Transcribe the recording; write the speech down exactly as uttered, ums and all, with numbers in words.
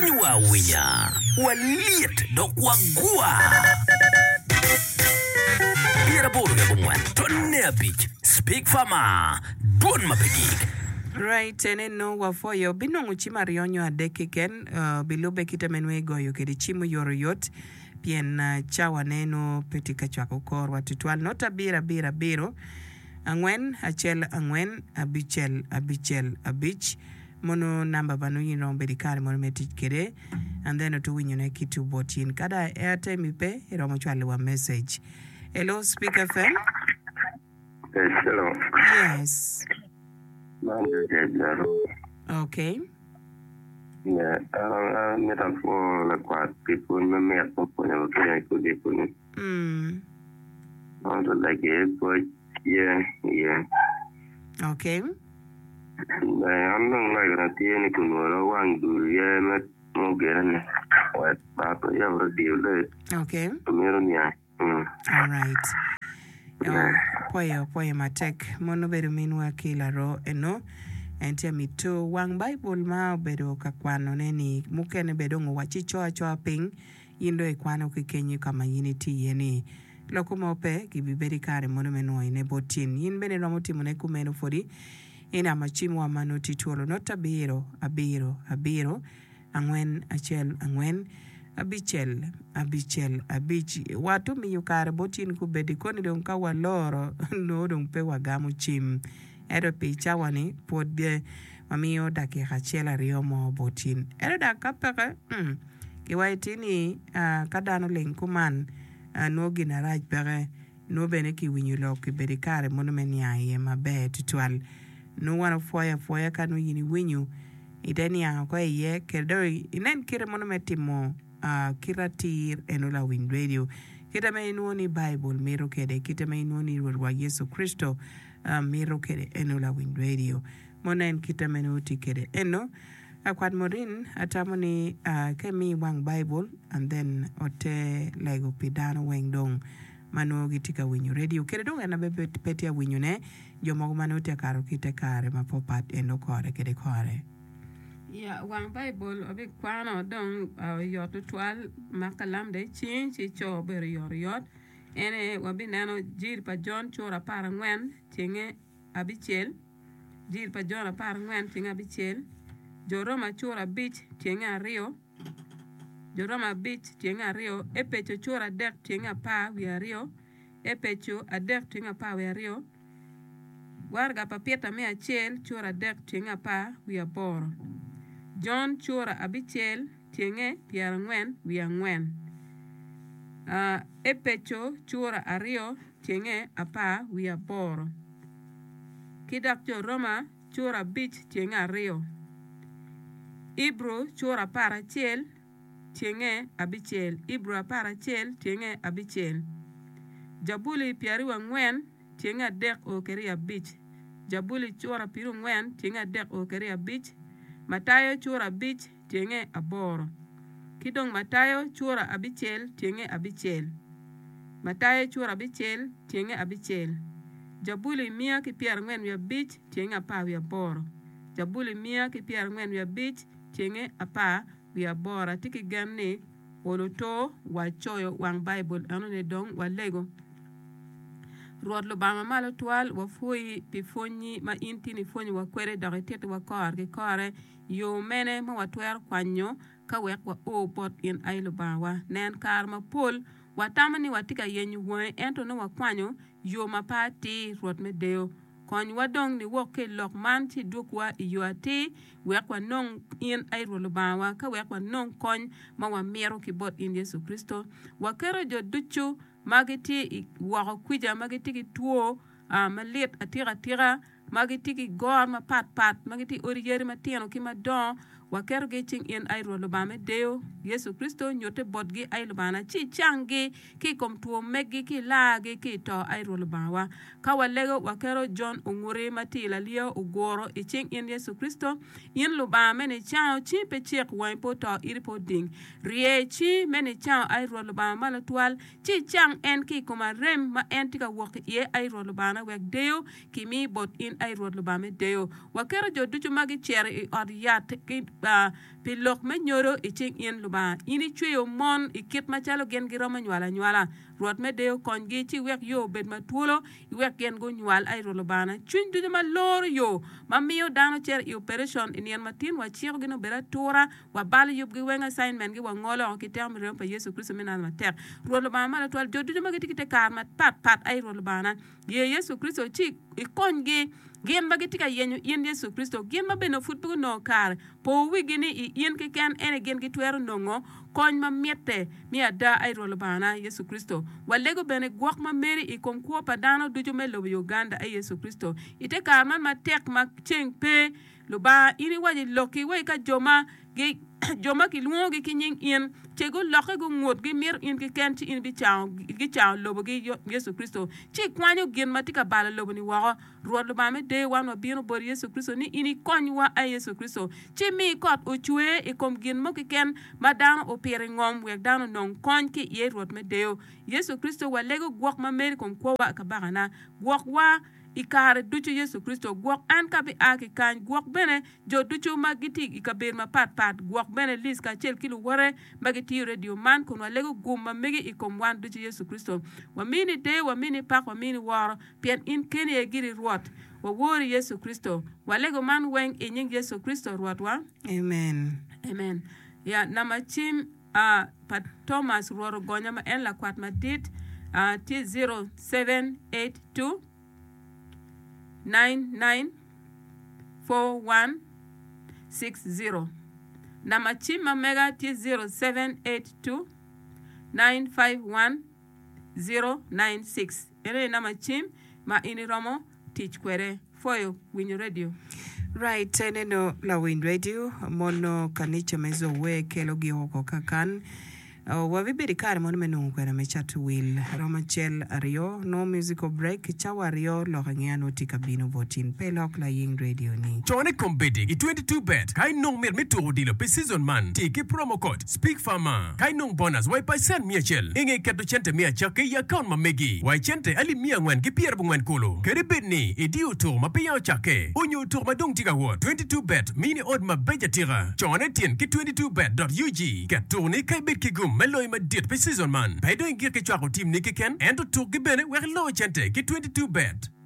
Winyowa awinya, walyet dok wagwa. Pyeraboro ki abongwen tonne abic Speak Farmer, dwon ma pe gik. Right, ene nongo wapwoyo. Binongo cim aryo nyo adek keken, uh, bilubbe kite me nongo igoyo kwede cim oyotoyot, pien uh, cawane nongo pe tye ka cwako korwa tutwal. Not abiro abiro abiro, angwen acel angwen abicel abicel abic. Mono namba ma nongo in iromo bedo i kare mono me tic kwede, and then oto winyone ki two bot in. Ka dong airtime pe, iromo cwalo wa message. Hello, Speak F M. Yes, hello. Yes. Man Joseph Laro. Okay. Yeah, an amito apwo lakwat pi pwony mamit ma pwonyo lutino i kodiko-ni. Mm. Man to lagi pwoc tye iye. Okay. An dong lagina tye ni kunwora wang dul ye me mugene-ni wek bat oyab radio le Okay. amito niang. Mm. All right. Yeah. Pwoyo, pwoyo matek. Mono obedo minwa ki laro eno. En tye mito wang Baibul ma obedo ka kwanone ni mukene bene dong owacci co acoa piny in dong ikwano ki kenyo ka ma in itye iye ni. Loko mo pe gibibedo i kare mono me nwoyone bot tin. In bene iromo timone kumeno pwodi i namba cimwa ma nongo tye twolo not abiro abiro abiro angwen acel angwen abicel abicel abic. Wat omiyo kare bot in kubedi koni dong ka waloro nongo dong pe wagamo cim. Ento pi cawa-ni pwod wamiyo dakika acel aryo mo bot in. Ento dok ka peke, mm, kiwaco ti ni ka dano ling kuman nongo gin arac peke, nongo bene kiwinyo lok kibedo i kare mono me niang iye maber tutwal. Nongo wan opwoyo apwoya ka nongo in iwinyo ite niang oko iye kede dong inen kite mono me timo kite atir eno lawiny radio kite ma inwongo ni Baibul mito kede kite ma inwongo ni Rwotwa Yecu Kricito mito kede eno lawiny radio mono en kite ma nongo tye kede eno. Akwat Morin atamo ni ka imi wang Baibul and then ote lego pi dano weng dong ma nongo gitye ka winyo radio kede dong en abe pe tye awinyone jo mogo ma nongo tye akato ki te kare ma papat eno kore kede kore. Ya, wang Baibul wabikwano dong oyot tutwal mak kalam dong icingi ci ico bedo oyotoyot. Ene wabineno Jiri pa Jon cura apar angwen tyenge abicel, Jiri pa Jon apar angwen tyenge abicel, Jo Roma cura abic tyenge aryo, Jo Roma abic tyenge aryo, Epeco cura adek tyenge apar wiye aryo, Epeco adek tyenge apar wiye aryo, Waraga pa Pita me acel cura adek tyenge apar wiye aboro, Jon cura abicel tyenge pyerangwen wiye angwen, Epeco cura aryo tyenge apar wiye aboro, ki dok Jo Roma cura abic tyenge aryo, Ibru cura apar acel tyenge abicel, Ibru apar acel tyenge abicel, Jabuli pyeraryo angwen tyenge adek o kede abic, Jabuli cura pyeraryo angwen tyenge adek o kede abic, Matayo cura abic tyenge aboro, ki dong Matayo cura abicel tyenge abicel, Matayo cura abicel tyenge abicel, Jabuli miya ki pyerangwen wiye abic tyenge apar wiye aboro, Jabuli miya ki pyerangwen wiye abic tyenge apar wiye aboro. Atye ki gen ni olo to wacoyo wang Baibul enoni dong walego. Rwot Lubanga mamalo twal, wapwoyi pi pwonyi ma in tin ipwonyowa kwede dok itittiwa kore ki kore yo mene ma watwero kwanyo ka wek wao bot in ai Lubangawa. Nen kare mapol watamo ni watye ka yenyo wangi ento nongo wakwanyo yo ma pe atir. Rwot me deyo, konywa dong niwok ki i lok man ci idwogwa i yo atir wek wanong in ai Rwot Lubangawa ka wek wanong kony ma wamito ki bot in Yecu Kricito. Waketo jo ducu ma gitye i woko kwica ma gitye ki two malit atika atika ma gitye ki goro mapat pat ma gitye i odi yadi matino ki madongo waketogi i cing in ai Rwot Lubanga me deyo Yecu Kricito nyutte botgi ai Lubangana ci icanggi ki i kom two meggi ki ilargi ki i to ai Rwot Lubangawa. Ka walego waketo Jon Onguti ma tye i lalyeyo oguro i cing in Yecu Kricito in Lubanga me nicango cingi pe cek wangi pe oto iti pe oding rye cingi me nicango ai Rwot Lubanga malo twal ci icang en ki i kom arem ma en tye ka wok iye ai Rwot Lubangana wek deyo kimi bot in ai Rwot Lubanga me deyo. Waketo jo ducu ma gicito i ot yat ki Pi lok me nyodo i cing in, Lubanga, in icweyo mon i kit macalo gin giromo nywalo anywala. Rwot me deyo konygi, ci iwek yo obed ma twolo, iwek gin gunywal, ai Rwot Lubangana. Cwiny ducu ma loro yo ma miyo dano cito i operation i nino matin, wacikogi ni obed atura, wabalo yubgi weng, assignment-gi wangolo oko ki teko me remo pa Yecu Kricito me Nazaret matek. Rwot Lubanga malo twal, jo ducu ma gitye ki te kare mapat pat, ai Rwot Lubangana, ye Yecu Kricito ci ikonygi, gin ma gitye ka yenyo in Yecu Kricito, gin ma bene pud pe gunongo kare. Po wigi ni i in keken ene gin gitwero nongo kony ma mitte me ada, ai Rwot Lubangana, Yecu Kricito. Walego bene gwok ma meri i kom kwo pa dano ducu me lobo Uganda, ai Yecu Kricito. I te kare man matek ma ceng pe, Lubanga, in iwaco i lokki wai ka jo ma jo ma kilwongogi ki nying in ce gulokke gungut gimito in keken ci in ibicango gicango lobogi Yecu Kricito ci ikwanyo gin ma tye ka balo lobo-ni woko. Rwot Lubanga me deyo wan wabino boti Yecu Kricito ni in ikonywa ai Yecu Kricito ci mi kot ocwer i kom gin mo keken ma dano opito i ngom wek dano onong kony ki iye Rwot me deyo Yecu Kricito walego gwok ma meri i kom kwowa Kabakana gwokwa I kare ducu Yecu Kricito gwok an ka bia ki kany, gwok bene jo ducu ma gitye i kabedo mapat pat, gwok bene Liz kacel ki luwote ma gitiyo redio man, kun walego gum ma megi i kom wan ducu Yecu Kricito. Wamini deyo, wamini pak, wamini woro, pien in keni aye giri Rwot. Wawori Yecu Kricito. Walego man weng i nying Yecu Kricito Rwotwa. Amen. Amen. Ya, namba cim a pa Thomas Rwot ogonya ma en lakwat madit, a tye zero seven eight two. nine nine four one six zero Namba cim ma mega tye zero seven eight two nine five one zero nine six Eno aye namba cim ma in iromo tic kwede. Pwoyo winyo redio. Right, eneno lawiny redio mono kanica me Zoe kelo gi oko kakan. Wabibedo i kare mono me nongo kwena me cato wil romo acel aryo, nongo musical break, cawa aryo lok angeya nongo tye ka bino bot in. Pe ilok laying radio ni. Con i kombeddi i twenty two bet ka inong mit me tuko odilo pi season man, ti ki promo code SPEAKFARMER ka inong bonus wa i pacent miya acel inge keto cente me acakki i akaunt ma megi wa i cente alip miya angwen ki pyerabongwen kulu. Kadi bed ni idiyo tuko ma peya ocakke onyo tuko ma dong tye ka wot, twenty two bet mini ot mabeco atika. Cone tyen ki twenty two bet dot ug. Ket tukni ka ibed ki gum me loyo madit pi season man. Pe dong igik ki cwako tim ni keken, ento tukgi bene wek ilo cente ki twenty two bet.